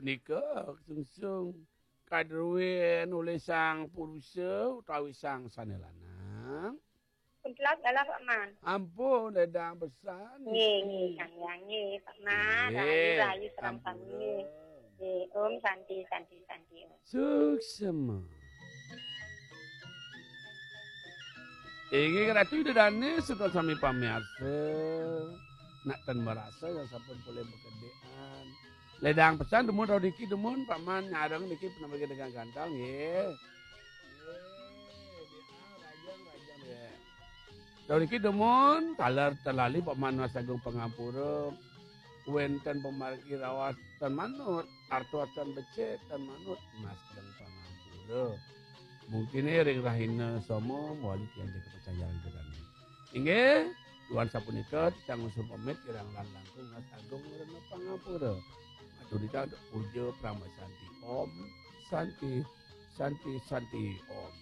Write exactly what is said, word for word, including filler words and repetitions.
Nika sungsung kadruén olih sang purusa utawi sang sané lanang. Kuntelak galah, Pak Man. Ampun, ledang pesan. Nggih, nggih, Kang Hyang, nggih, Pak Man. Nggih, rahayu, rahayu sareng ampura. Sami, nggih. Nggih, Om Santi, Santi, Santi, Om. Suksma. Inggih Ratu Ida Dané, sedaya sami pamiarsa. Nak ten marasa yang sampun polih makedékan. Ledang pesan dumun rauh niki dumun, Pak Man nyareng niki penambahin dengan ganteng, nggih. Nggih, nggih, ah, rajang, rajang, nggih. Rauh niki dumun, taler ten lali Pak Man nunas agung pangampura. Wénten pamargi raos ten manut, artos ten becik ten manut, nunas agung pangampura. Mungkin ring rahina soma mawali tiyang jaga pacang jalan gedane. Inggih, duaning sapunika titiang nglungsur pamit kirang langkung nunas agung rena pangampura. Matur titiang puja Parama Santi. Om Santi, Santi, Santi, Om.